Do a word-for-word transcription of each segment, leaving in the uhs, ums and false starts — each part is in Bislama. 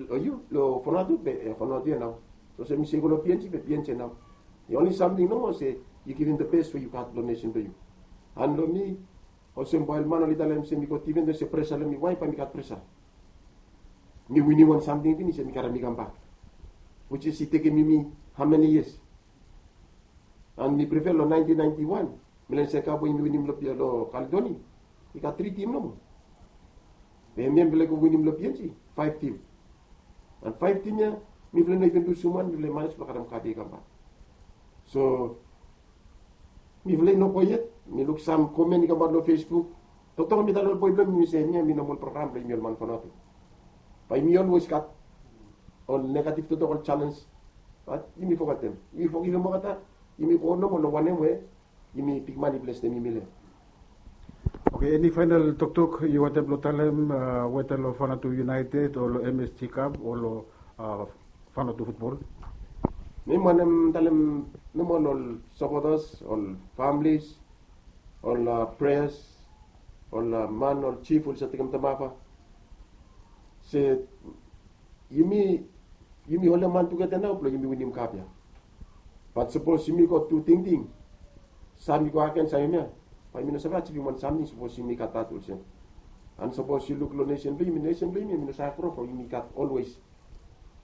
Long yu long Vanuatu be Vanuatu ya nao. Olsem mi se go long PNG be PNG ya nao. The only samting nomo se yu givim the best we yu gat long nesen blong yu. And long mi, olsem bae ol man oli talem se mi gat, even though se presa long mi, why bae mi gat presa? Mi winim wan samting finis ya mi karem i kambak, which is i tekem yumi how many years? And mi prefer long nineteen ninety-one, Milan Sekap we yumi winim long Kaledoni, i gat tri tim nomo. Be hemia mifala i go winim long PNG, faef tim. And faef tim ya mifala i no even lusum wan, mifala i manej blong karem kap ya i kambak. So mifala i no go yet. Mi luk sam komen i kamaot long Facebook. Toktok mi talem long ol boe blong mi se hemia hemi nomal program blong yumi ol man Vanuatu. Bae yumi always gat ol negative toktok, ol challenge. Bat yumi fogetem, yumi fogivim olgeta. Yumi go nomo long wanem we yumi bigman i blesem yumi long hem. Oke, eni faenal toktok yu wantem blong talem, weta long Vanuatu United o long MSG Cup o long Vanuatu futbol? Mi wantem talem nomo long ol sapotas, ol familis, ol pres, ol man, ol jif oli save tekem tamafa se yumi, yumi holem han tugeta nao blong yumi winim kap ya. Bat sapos yumi go tu tingting, sam i go agen, sam hemia, bae yumi no save ajivim wan samting sapos yumi gat dat olsem. And sapos yu luk long nesen blong yumi, nesen blong yumi hemi no save gro from yumi gat always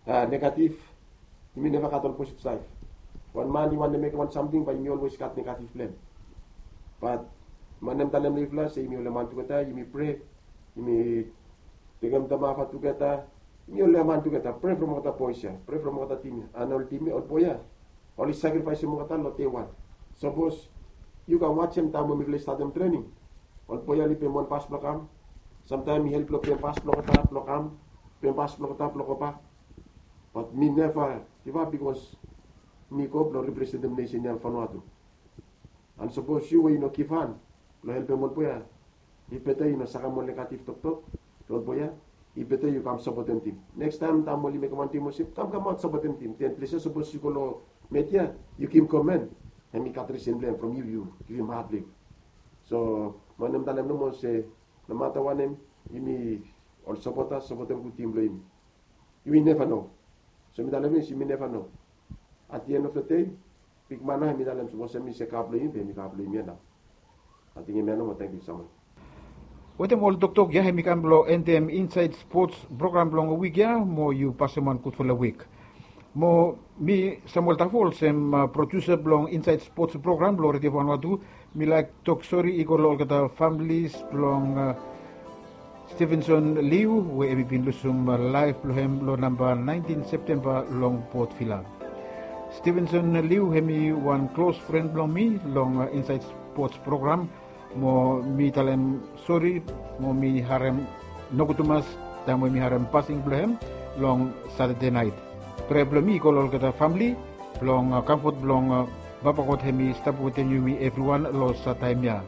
negative. Yumi neva gat ol positive saed. Wan man i wantem mekem wan samting bae yumi always gat negative blong hem. Bat mi wantem talem long yufala se yumi holem han tugeta, yumi prea, yumi tekem tamafa tugeta, yumi holem han tugeta, prea from olgeta boes ya, prea from olgeta tim ya. And ol tim ya, ol boe ya oli sakrifaesem olgeta long dei wan. Sapos yu kam wajem taem we mifala i statem trening, ol boe ya oli pem wan bas blong kam. Samtaem i help long pem bas blong olgeta blong kam, pem bas blong olgeta blong gobak. Bat mi neva givap bikos mi go blong representem nesen ya, Vanuatu. And sapos yu we yu no givhan blong helpem ol boe ya, i beta yu no sakem ol negative toktok long ol boe ya. I beta yu kam sapotem tim. Nekstaem taem oli mekem wan tim olsem, kam kamaot sapotem tim. Den ples ya sapos yu go long media, yu givim komen, hemi gat risen blong hem from yu, yu givim had blong yu. So mi wantem talem nomo se nomata wanem, yumi ol sapotas sapotem gud tim blong yumi. Yumi neva no. So mi talem finis, yumi neva no. At the end of the day, bigman nao hemi talem sapos hemi se kap blong yumi be hemi kap blong yumi ya nao. Ating hemia nomo, tangkiu so mas. Wetem ol toktok ya hemi kam blong endem Insaed Spots program blong wik ya, mo yu pasem wan gudfala wik. Mo mi Samuel Tafo olsem produsa blong Insaed Spots program blong Redio Vanuatu, mi laek tok sori i go long olgeta familis blong Stevenson Liu we hemi bin lusum laef blong hem long namba naentin Septemba long Port Vila. Stevenson Liu hemi wan klos fren blong mi long Insaed Spots program, mo mi talem sori, mo mi harem nogud tumas taem we mi harem pasing blong hem long Satade naet. Prea blong mi i go long olgeta famle blong kamfot blong Papa God hemi stap wetem yumi evriwan long sad taem ya.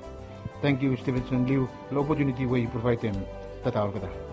Tangkiu Stevenson Liu long opotuniti we yu provaedem. Tata olgeta.